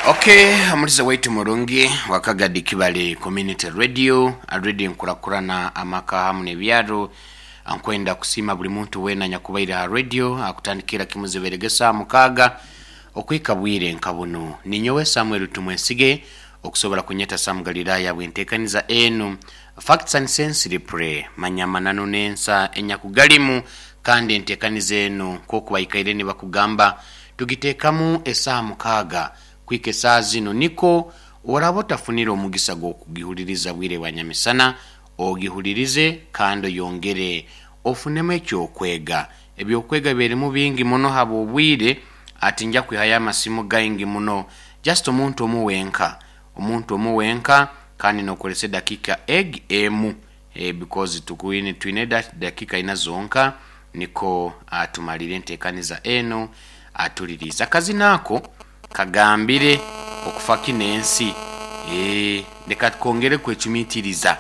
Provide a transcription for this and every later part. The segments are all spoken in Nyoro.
Okay, omulize waitu murungi wakagadi Kibale Community Radio, radio nkurakurana amaka hamu n'ebyaro. Nkwenda kusiima buli muntu weena nyakubaire ha radio akutandikira kimuziberege saa 6 okwika bwire nka bunu. Ninyowe Samuel Tumwesige okusobora kunyeta Sam Galilaya bwentekaniza enu Facts and Sense Replay, manya amananu n'ensa enyakugalimu, kandi entekaniza enu nk'oku baikaire nibakugamba tugiteekamu esaaha 6 kuhika esaaha zinu, niko oraba otafunire omugisa gw'okugihuliriza bwire bwa nyamisana, ogihulirize kandi oyongere ofunemu eky'okwega. Eby'okwega birimu bingi muno habw'obwire, ati nja kwihayo amasimu gaingi muno. Just omuntu omu wenka, omuntu omu wenka kandi n'okozesa edakika egi emu because tukwine twine dakika ina zonka niko tumalire entekaniza enu atulirize. Akazina ako kagambire okufa kino ensi. Leka twongere kwecumitiriza.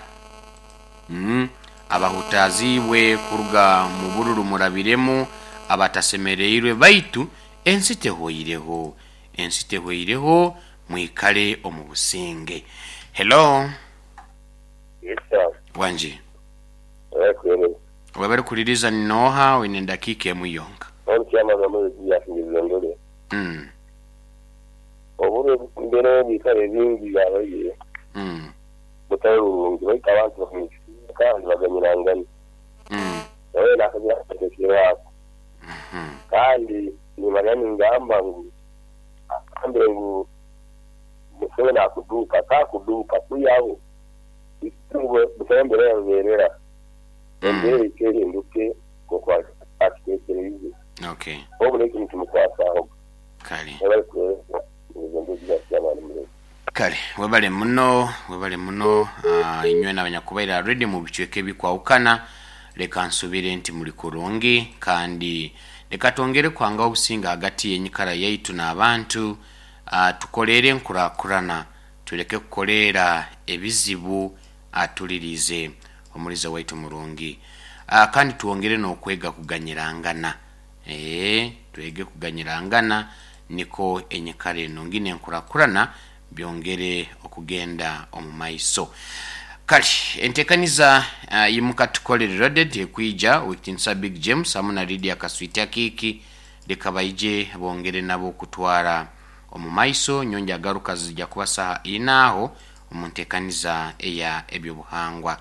Abahutaziibwe kuruga mu bururu murabiremu, abatasemereirwe, baitu ensi tehweireho. Ensi tehweireho, mwikale omu businge. Hello. Yes sir. Wangi. Webale kuhereza. Webale kuliriza ni noha oine edakiika emu yonka. Hon chairman wa Mwezi Julius Ngezondole. Oburo embera y'ebiikaro ebingi yabaire butali burungi baitu abantu bakamwikiriza kandi baganyirangana. Nawe nakagira akatekereho ako. Kandi nimanya ningamba ngu agambire ngu Museveni akuduuka, takuduuka kwihaho ngu busaho embera yaruberera. Embera eka ehinduke nkoku akitekereize. Obu nekyo nikimukwasahoga. Webale kuhereza Ngezondole Julius Chairman Murezi. Kale webale muno, webale muno inywena abanyakubaire aha radio mu bicweka ebikwahukana. Leka nsubire nti muli kurungi kandi leka twongere kuhangaho obusinge hagati y'enyikara yaitu n'abantu. Tukoleere enkurakurana tuleke kukoleera ebizibu atuliriize omuliza waitu murungi. Kandi twongere n'okwega kuganyirangana. Twege kuganyirangana niko enyikara enungi n'enkurakurana byongere okugenda omu maiso. Kale entekaniza Imuka Tukole Reloaded ekwija Owekitiinisa Big James hamu na Lydia Kaswiti Akiiki leka baije bongere nabo okutwara omu maiso. Nyongya garuka zija kuba saha ina aho omu ntekaniza eya ebyobuhangwa.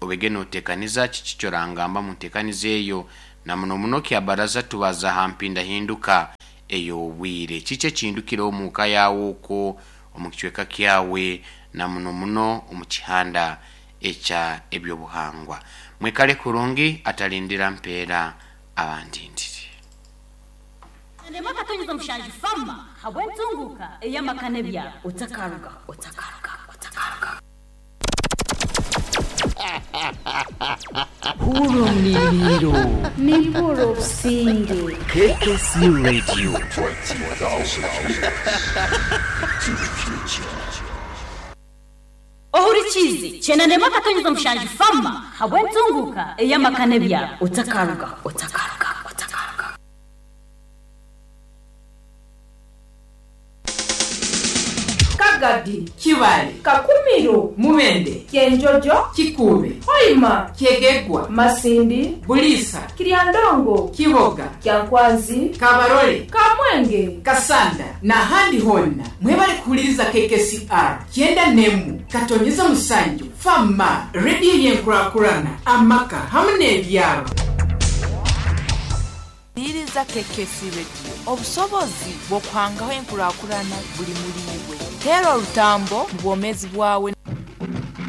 Obege notekaniza kiki kyorangamba mu ntekaniza eyo, na muno muno kya baraza tubaza ha mpindahinduka ey'obwire. Kiki ekindukireho omu ka yaawe okwo, omu kicweka kyawe, na muno muno omu kihanda ekya ebyobuhangwa? Mwikale kurungi, atalindira mpeera abandindire. Endema akatonyeza omushanju fama habw'entunguuka ey'amaka n'ebyaro. Otakarugaho, otakarugaho, otakarugaho. Hurra omuliriiro. Nimpurra obusinge. KKC Radio. Ohurikiize, Kyenda akatonyeza mushanju fama habw'entunguuka ey'amaka n'ebyaro. Otakarugaho, otakarugaho, otakarugaho. Kagadi, Kibale, Kakumiro, Mubende, Kyenjojo, Kikuube, Hoima, Kyegegwa, Masindi, Buliisa, Kiryandongo, Kiboga, Kyankwanzi, Kabarole, Kamwenge, Kasanda n'ahandi hoona. Mwebale kuhuliriza KKCR 97.7 Fama, rediyo y'enkurakurana, amaka hamu n'ebyaro. Huliriza KKC Radio. Obusobozi bw'okuhangaho enkurakurana buli muri iwe. Teera orutambo mu bwomeezi bwawe.